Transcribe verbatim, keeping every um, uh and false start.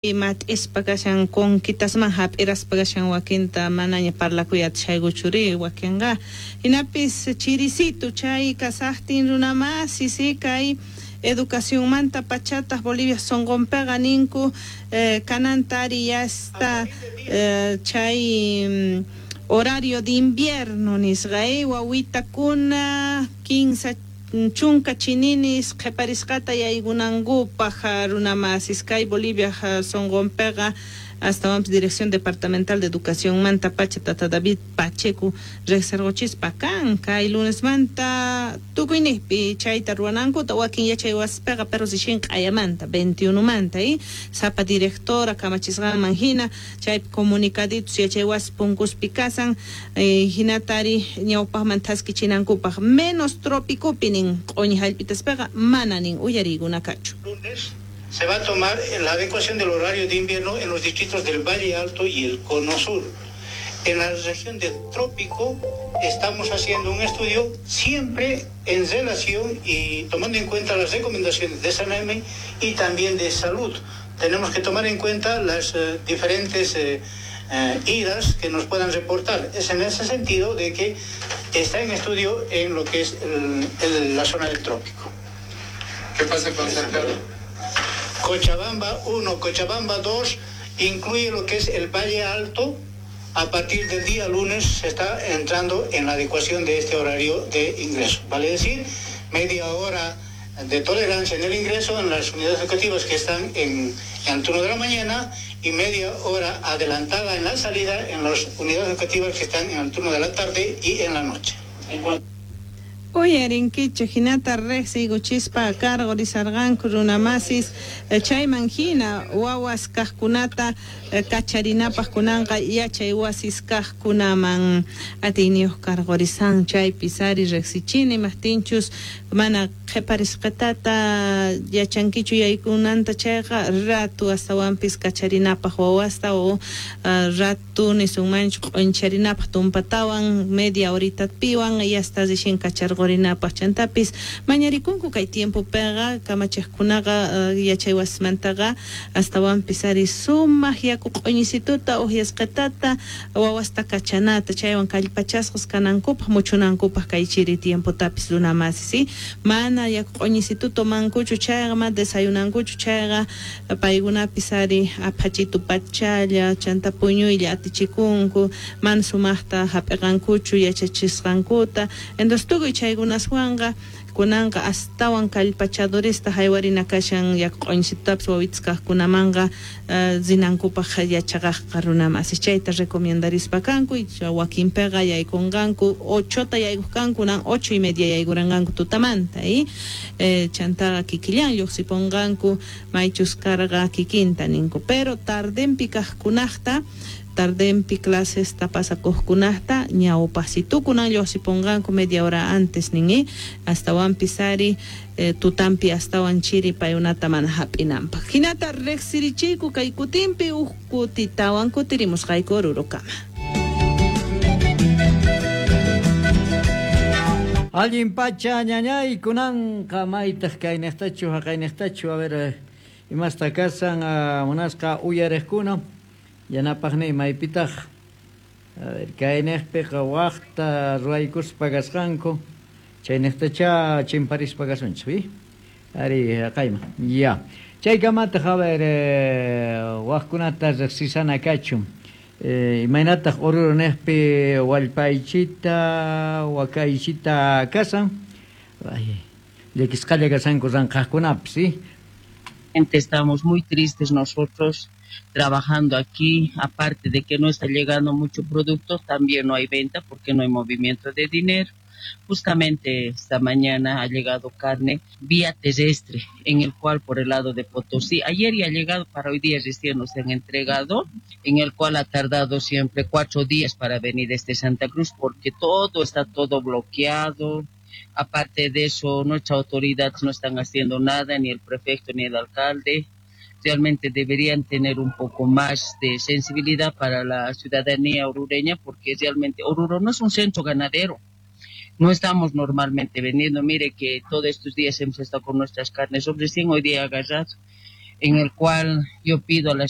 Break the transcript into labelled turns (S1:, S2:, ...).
S1: Mat'ispa kashan conquitasman hap'iraspa kashan wakinta manaña parlakuy atishaykuchuri wakinqa hinapis chirisitu chay kasaqtin runamasi si kay educacionmanta pachataq Bolivia sunqunpiqa ninku eh, kanantari ya está eh, chay horario de invierno nisqa eh, wawitakuna kinsa chunka chininis qhiparisqata yaykunankupaq runamasis kay Bolivia sunqunpiqa astawanpis Dirección Departamental de Educación manta pacha tata David Pacheco riqsirquchispa kan kay lunesmanta tukuyniqpi chayta ruwanankuta wakin yachay wasipiqa pero recién q'ayamanta veintiuno manta y sapa directora kamachisqanman hina chaypi comunicaditos yachay wasi punkuspi kasan eh, hinatari ñawpaqman thaskichinankupaq menos trópicopi nin q'uñi hallp'itaspaqa mana nin uyariykunakachu.
S2: Lunes se va a tomar la adecuación del horario de invierno en los distritos del Valle Alto y el Cono Sur. En la región del Trópico estamos haciendo un estudio siempre en relación y tomando en cuenta las recomendaciones de SANAME y también de salud. Tenemos que tomar en cuenta las eh, diferentes eh, eh, idas que nos puedan reportar. Es en ese sentido de que está en estudio en lo que es el, el, la zona del Trópico.
S3: ¿Qué pasa con Santiago?
S2: Cochabamba uno, Cochabamba dos, incluye lo que es el Valle Alto. A partir del día lunes se está entrando en la adecuación de este horario de ingreso. Vale decir, media hora de tolerancia en el ingreso en las unidades educativas que están en, en el turno de la mañana y media hora adelantada en la salida en las unidades educativas que están en el turno de la tarde y en la noche.
S1: Uyarinkichu hinata riqsiykuchispa cargo risarqanku runamasis chayman hina wawas kaqkunata kacharinapaq kunanqa yachay wasis kaqkunaman atiyniyuq cargo risan chaypi sari riqsichini maqtinchus mana qhiparisqatata yachankichu yaykunanta chayqa ratu astawanpis kacharinapaq wawasta o ratu nisunmanchu q'uncharinapaq tumpatawan media horita piwan yasta rixin kacharqo qorinapaq chantapis mañarikunku kay tiempopiqa kamachiqkunaqa uh, yachay wasimantaqa astawanpis ari sumaq yaku q'uñisituta uhyasqatata wawasta kachanata chaywan kallpachasqas kanankupaq muchunankupaq kay chiri tiempotapis runamasi si mana yaku q'uñisitu tomankuchu chayqa ma desayunankuchu chayqa paykunapis ari aphachitu pachalla chanta puñuylla atichikunku mana sumaqta hap'iqankuchu yachachisqankuta entonces tukuy chay chaykunaswanqa kunanqa astawan kallpachadorista haywarina kashan yaku q'uñisitutapis wawitas kaqkunamanqa uh, rinankupaq yachaqaqqa runamasi chayta recomendarispa kanku wakinpiqa yaykunqanku ochota yaykuqkanku nan ocho y media yaykuranqanku tutamanta y eh, chantaqa kikillan lluqsipunqanku maychus karqa kikinta ninku pero tardenpi kaqkunaqta tardenpi clases tapasakuqkunaqta ñawpasitukunan lluqsipunqanku media hora antes nin astawanpis ari eh, tutampi astawan chiri payunata mana hap'inanpaq hinata riqsirichiyku kay kutinpi huk kutitawan kutirimusqayku Orurokama.
S4: Allin pacha ñañay kunanqa maytaq kayniqtachu haqayniqtachu a ver imasta kasan munasqa uyariqkuna yanapaqni maypitaq a ver kayniqpiqa waqta ruwaykuspa kasqanku chayniqtacha chimparispa kasunchik wi ari haqayman ya chaykamataq a ver waqkunata riqsisana kachun imaynataq Oruro niqpi wallpaychita wakaychita kasan ay llakisqalla kasanku ranqaqkunapis si.
S5: Estamos muy tristes nosotros trabajando aquí, aparte de que no está llegando mucho producto, también no hay venta porque no hay movimiento de dinero. Justamente esta mañana ha llegado carne vía terrestre, en el cual por el lado de Potosí, ayer ya ha llegado, para hoy día recién nos han entregado, en el cual ha tardado siempre cuatro días para venir desde Santa Cruz, porque todo está todo bloqueado. Aparte de eso, nuestras autoridades no están haciendo nada, ni el prefecto ni el alcalde. Realmente deberían tener un poco más de sensibilidad para la ciudadanía orureña, porque realmente Oruro no es un centro ganadero. No estamos normalmente vendiendo. Mire que todos estos días hemos estado con nuestras carnes, recién hoy día agarrado. En el cual yo pido a la